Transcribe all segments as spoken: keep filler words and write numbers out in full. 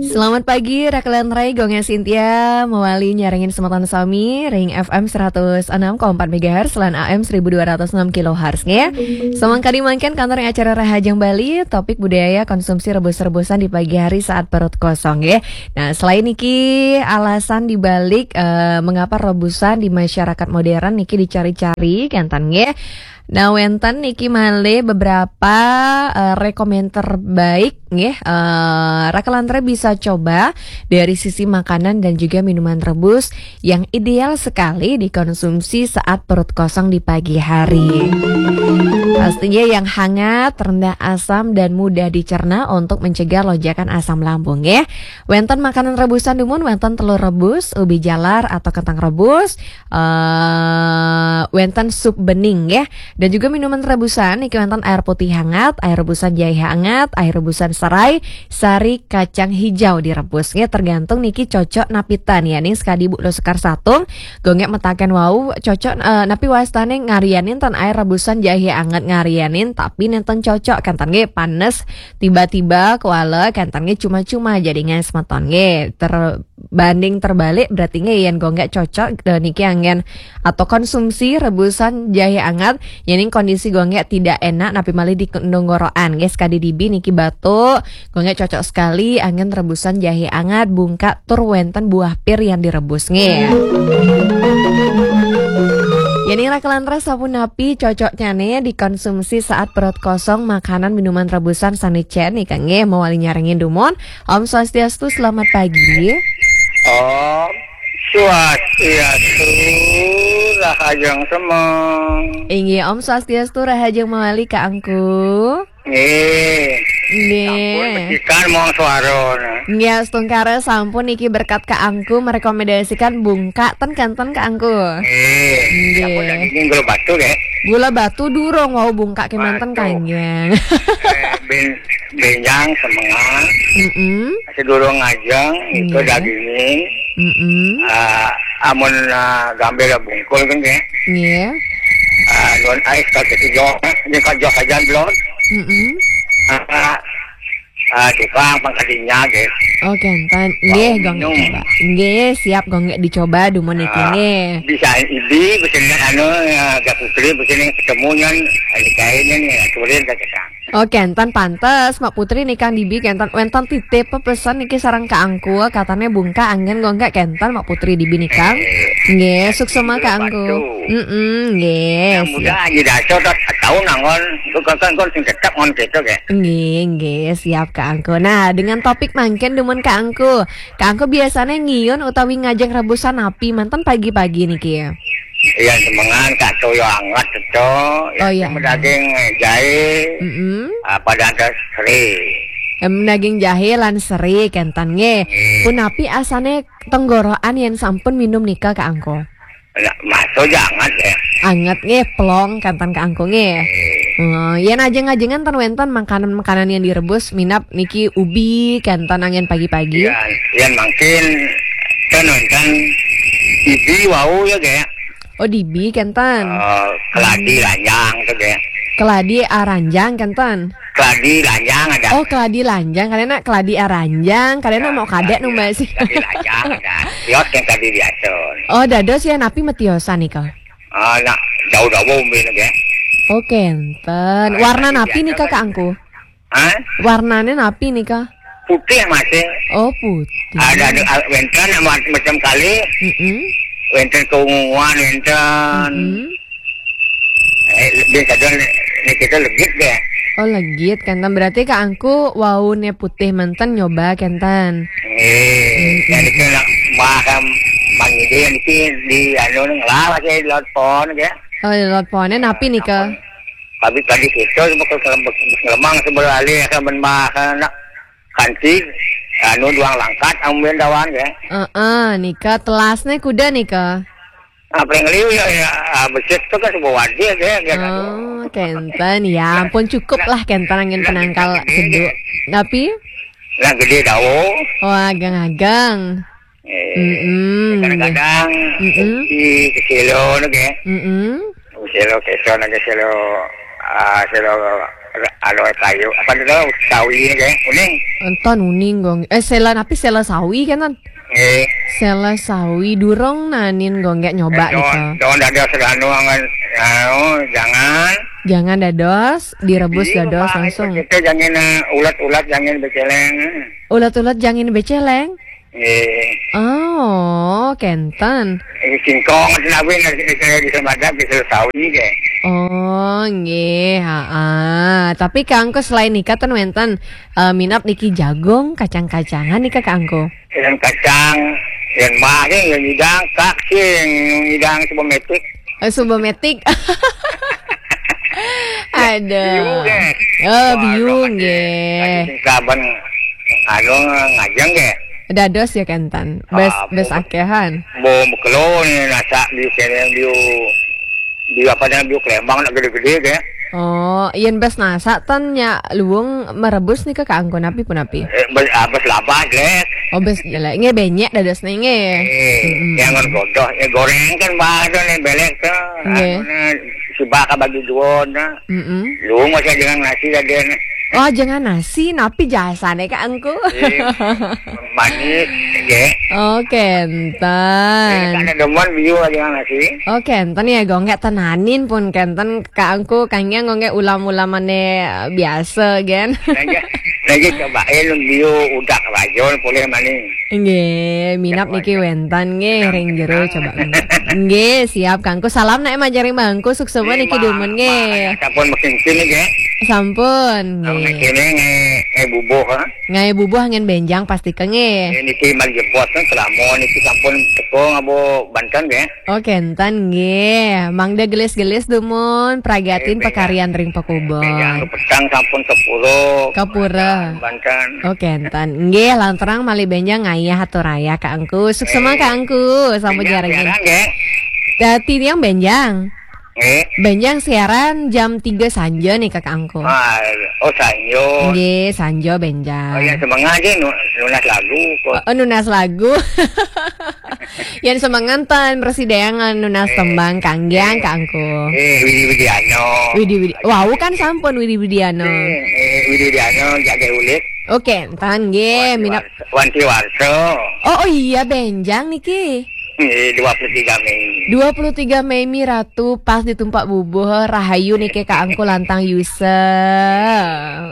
Selamat pagi, Rakelan Rai, Gonge Sintia, mawali nyarengin semeton sami, ring F M seratus enam koma empat megahertz, lan A M seribu dua ratus enam kilohertz, nggih. Samangkadi mangkin kantor acara Rahajeng Bali, topik budaya konsumsi rebus-rebusan di pagi hari saat perut kosong, nggih. Nah, selain niki alasan dibalik, eh, mengapa rebusan di masyarakat modern niki dicari-cari, kenten, nggih. Nah, wenten niki malih beberapa, eh, rekomen terbaik, nggih. Eh, Rakelan Rai bisa coba dari sisi makanan dan juga minuman rebus yang ideal sekali dikonsumsi saat perut kosong di pagi hari. Pastinya yang hangat, rendah asam, dan mudah dicerna untuk mencegah lonjakan asam lambung, nggih. Wenten makanan rebusan dumun, wenten telur rebus, ubi jalar atau kentang rebus, eh, wenten sup bening, nggih. Dan juga minuman rebusan, niki wenten air putih hangat, air rebusan jahe hangat, air rebusan serai, sari kacang hijau direbus, nggih. Tergantung niki cocok napi ten, ya, ning sekadi Bu Lo Sekar Satung, gonge metaken wau cocok, eh, napi wastane ngarianin ten air rebusan jahe hangat ngarianin, tapi nenten cocok, kenten, nggih, panes tiba-tiba kuala, kenten, nggih, cuma-cuma jadi nggih semeton, nggih. Ter banding terbalik, berarti nggih yen gonge cocok, eh, niki anggen atau konsumsi rebusan jahe anget, yening kondisi gonge tidak enak, napi malih di tenggorokan, nggih, sekadi dibi niki batuk, gonge cocok sekali anggen rebusan jahe anget, bungkak tur wenten buah pir yang direbus, nggih. Yening Rakelan Rai sapunapi cocoknyane dikonsumsi saat perut kosong, makanan minuman rebusan sane cen nika, nggih, mawali nyarengin dumun. Om Swastiastu, selamat pagi. Om Swastiastu, Rahajeng Semeng. Inggih, Om Swastiastu, Rahajeng mawali, Kak Angku. Nggih. Nggih. Sampun becikan mong suara. Nggih, astungkara sampun niki berkat Kak Angku merekomendasikan bungkak ten kenten, Kak Angku. Nggih. Nggih. Sampun dagingnya gula batu, nggih. Gula batu durung wau bungkak kemanten, batu. Kanjeng. Eh, ben-, benjang semengan. Mm-mm. Sedurung ngajeng, itu, nggih, dagingnya. Mm-mm. Ah, amun, ah, gambir bungkul kan, nggih. Nggih. Ah, nuhun ais ka joh, ini ka joh sajan belum. Mm-mm. Ah, ah, tukang pangkadinya, nggih. Oh, kenten. Nggih, mau gong minum. Dicoba. Nggih, siap, gong dicoba, dumun niki, ah, nggih. Bisa ibi, bisa anu, ah, Gak Putri, bisa ning ketemu nyan, ini kainnya nih, aturin ka kita. Oh, kenten pantes, Mak Putri nikang dibi kenten wenten titip pesan niki sareng Kak Angku, katane bungkak anggen gonge kenten Mak Putri dibi nikang. Eh, nggih, suksema Kak Angku. Batu. Mm-mm, nggih, yang muda siap. Aja dasar tak tahu nangon, bukan kan kon sing tetap ngon kita, nggih. Nggih, nggih, siap Kak Angku. Nah, dengan topik mangkin dumun Kak Angku. Kak Angku biasane ngiun utawi ngajeng rebusan napi manten pagi-pagi niki? Iya, semengan, Kak, toyo anget, to. Oh, iya. Daging jahe, mm-mm, ah, pada ada seri. Em, daging jahe lan seri, kenten, nggih. Nggih. Punapi asane tenggorokan yen sampun minum nika, Kak Angku? Nah, masuk aja anget, ya. Anget, nggih, plong, kenten, Kak Angku, nggih. Nggih. Oh, yen ajeng-ajengan ten wenten makanan-makanan yang direbus, minab niki ubi, kenten angin pagi-pagi. Iya, yen mangkin ten wenten dibi wau ya, nggih. Oh, dibi kenten. Eh, keladi, hmm, lanjang tuh, nggih. Keladi aranjang kenten. Keladi lanjang ada. Oh, keladi lanjang, karena keladi aranjang, karena, ya, mau kadek, ya, nu, Mbak, sih. Keladi lanjang ada. Kios yang tadi biasa. Oh, dados ya napi metiosan nika? Ah, nak, daun-daun umbi nika. Oh, kenten. Ah, warna keladi napi biasa nika, kan. Kak Angku? Hah? Warnane napi nika? Putih masih. Oh, putih. Ada, ada, ah, wenten ma-, macam kali. Mm-mm. Wenten keunguan, wenten. Mm-mm. Eh, lebih kadang ni kita legit deh. Oh, legit, kenten. Berarti Kak Angku waune putih menten nyoba kenten. Eh, mm-mm, jadi kena baham mangide niki di anu ngelah aja di laut pon, ya. Oh, di laut pone napi nika? Tapi tadi kita cuma ke ngelemang sebelah alih akan menbahas anak kanti anu duang langkat ambil dawan, ya. Heeh, nika telasne kuda nika. Apa yang liu ya, ya, ah, becek tu kan sebuah wadah, ya, ya, kan. Oh, kenten. Ya ampun, cukup lah kenten angin penangkal sedu. Tapi? Nah, gede dawo. Oh, ageng-ageng. Eh, mm-mm, kadang-kadang, mm-mm, di kesilo, nggih. Mm-mm. Kesilo, kesilo, nggih, kesilo, ah, kesilo, Aloe kayu. Apa tu, sawi ni, ke? Uning. Enten uning, Gong. Eh, sela napi, sela sawi kan, Tan? Eh, Sela sawi durung nanin, Gong, nggak nyoba daun, nih. Daun dados anu angan. Anu, jangan. Jangan dados, direbus Iya, dados Pak, langsung. Kita jangan, eh, ulat-ulat jangan beceleng. Ulat-ulat jangan beceleng. Eh, Oh, kenten. Eh, singkong, kenapa nak saya di Semadan, bisa sawi ke? Oh, nggih, heeh. Tapi Kak Angku selain nika ten wenten, eh, minap niki jagung, kacang-kacangan nika Kak Angku. Yang kacang, yang mah, yang hidang, kak, sing, hidang sebemetik. Eh, suba metik. Aduh. Biu, ke? Oh, biu, nggih. Saban, anu, ngajeng ke? Dados ya kenten. Bes, Ah, bes bo- akehan. Bom kelo ni, nasa biu kene, biu, biu apa namanya, biu kelembang nak gede-gede ke? Oh, yen bes nasa ten nya luung merebus nika Kak Angku napi punapi? Eh, bes, ah, bes labas, le. Oh, bes jelek. Nggih benyek dados nih nggih. Eh, Mm-mm. Jangan godoh. Eh, goreng kan bahasa ni, belek tu. Nggih. Anu ni, sebab ka bagi dua ni. Mm-mm. Lu masih dengan nasi tadi ni. Oh, jangan nasi, napi jasane Kak Angku. Eh, Manis, ke? Oh, Eh, kenten. Ada demen biu dengan nasi. Oh, kenten ya, Gong, nggak tenanin pun kenten Kak Angku, kangge Gong, nggak ulam-ulamane biasa, gen. Lagi, lagi cobain biu udak rajon boleh manis. Nggih, minap niki wenten nggih ring jero coba. Nggih, siap Kak Angku. Salam nak majaring bangku, suksema niki dumun nggih. Sampun makin sini ke? Sampun Nggih. Nggih. Kene nge, nge bubuh, ha? Ngai bubuh ngen benjang pasti ke nggih. Ini niki mal jebos kan selama niki sampun teko ngabo Banten ke? Oh, kenten nggih. Mangda gelis-gelis dumun pragatin Eh, pekarian ring Jangan pakubon. petang sampun sepuluh. Kapura. Banten. Oh, kenten. Nggih, lanturang malih benjang ngayah atur ayah Kak Angku. Suksema Kak Angku, sampun jarengin. Jarang ke? Dadi tiang benjang. Eh, Benjang siaran jam tiga sanja nih Kak Angku. Ah, oh sanjo. Nggih, sanja benjang. Oh, yang semangat je nu-, nunas lagu kok. Oh, nunas lagu. Yang semengan ten, persidangan nunas tembang kanggiang Kak Angku. Eh, Widi Widiano. Widi Widi. Wau kan sampun Widi Widiano. Eh, eh, Widi Widiano jaga ulit. Oke, entan nggih minap. Wanti Warso. Oh, oh iya benjang niki. Eh, dua puluh tiga Mei. Dua puluh tiga Mei mi Ratu pas ditumpak bubuh rahayu niki Kak Angku lantang yusa.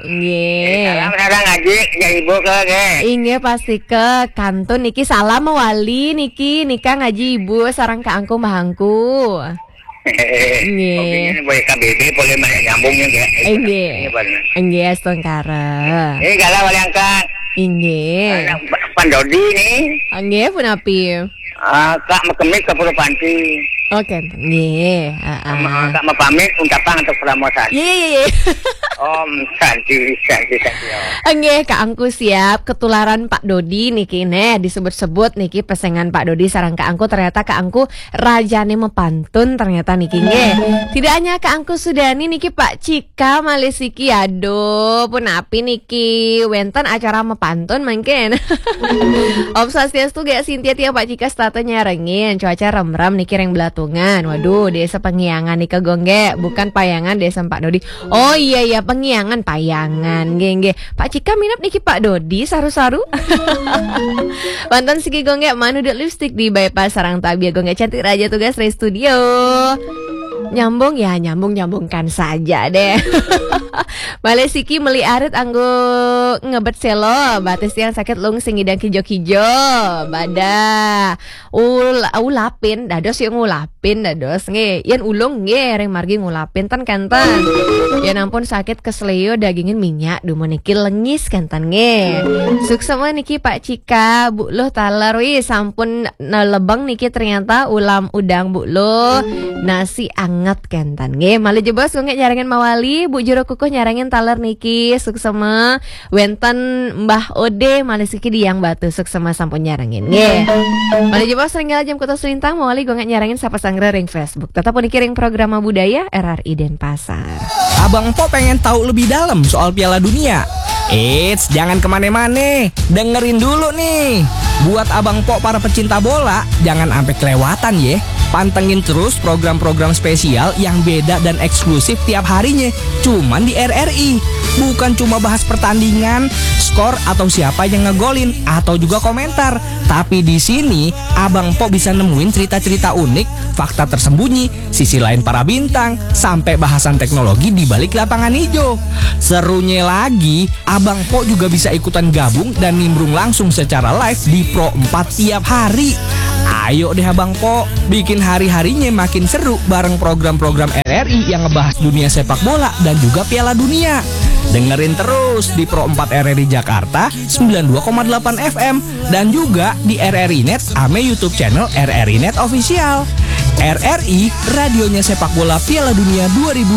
Nggih. Salam sareng ngaji ya ibu ke ke. Inggih pasti ke kantun niki salam mewali niki nika ngaji ibu sareng Kak Angku mahangku. Nggih. Oke, ini boleh K B B boleh banyak nyambungnya ya. Inggih. Ini benar. Inggih astungkara. Eh, galau wali angkat. Inggih. Anak Pandodi ni. Inggih punapi. Ah, Kak Mekemik ke Pura Panti. Oke, nggih. Heeh. Sama Kak Mepamit ucapan untuk promosi. Ye ye ye. Om Santi, Santi, Santi. Om. Nggih, Kak Angku siap ketularan Pak Dodi niki neh, disebut-sebut niki pesengan Pak Dodi sareng Kak Angku, ternyata Kak Angku rajane mepantun ternyata niki nggih. Tidak hanya Kak Angku Sudani niki Pak Cika malih siki, aduh punapi niki wenten acara mepantun mungkin. Om Swastiastu gek Sintia tiang Pak Cika setata nyarengin, cuaca remrem niki ring Belatungan. Waduh, desa Pengiangan nika Gong gek, bukan Payangan desa Pak Dodi. Oh iya iya, Pengiangan, Payangan. Nggih nggih. Pak Cika minap niki Pak Dodi saru-saru. Wonten siki Gong gek manuduk lipstick di bypass sareng tabia Gong gek cantik raja tugas dari studio. Nyambung ya, nyambung nyambungkan saja deh. Malih siki meli arit anggo ngebet selo, batis tiang sakit lung sing idang kijo-kijo. Badah. Ul-, ulapin dados ya ngulapin dados nggih. Yen ulung nggih ring margi ngulapin ten kenten. Yen ampun sakit kesleo dagingin minyak dumun niki lengis kenten nggih. Suksema niki Pak Cika, Bu Luh taler wi sampun nelebeng niki ternyata ulam udang Bu Luh. Nasi anget kenten nggih. Malih jebos Gong gek nyarengin mawali, Bu Jero Kukuh nyarengin taler niki. Suksema. Wenten Mbah Ode malih siki Diang Batu suksema sampun nyarengin. Nggih. Malih jebos ring jam kutus lintang mawali Gong gek nyarengin sapa sanggra ring Facebook. Tetap puniki ring Programa Budaya R R I Denpasar. Abang Empok pengen tahu lebih dalam soal Piala Dunia? Eits, jangan kemana-mana. Dengerin dulu nih. Buat Abang Pok para pecinta bola, jangan sampai kelewatan ya. Pantengin terus program-program spesial yang beda dan eksklusif tiap harinya. Cuman di R R I. Bukan cuma bahas pertandingan, skor atau siapa yang ngegolin atau juga komentar. Tapi di sini Abang Pok bisa nemuin cerita-cerita unik, fakta tersembunyi, sisi lain para bintang, sampai bahasan teknologi di balik lapangan hijau. Serunya lagi, Abang Pok juga bisa ikutan gabung dan nimbrung langsung secara live di Pro empat tiap hari. Ayo deh Abang Pok, bikin hari-harinya makin seru bareng program-program R R I yang ngebahas dunia sepak bola dan juga Piala Dunia. Dengerin terus di Pro empat R R I Jakarta sembilan dua koma delapan F M dan juga di R R I Net ame YouTube channel R R I Net Official. R R I, radionya sepak bola Piala Dunia dua ribu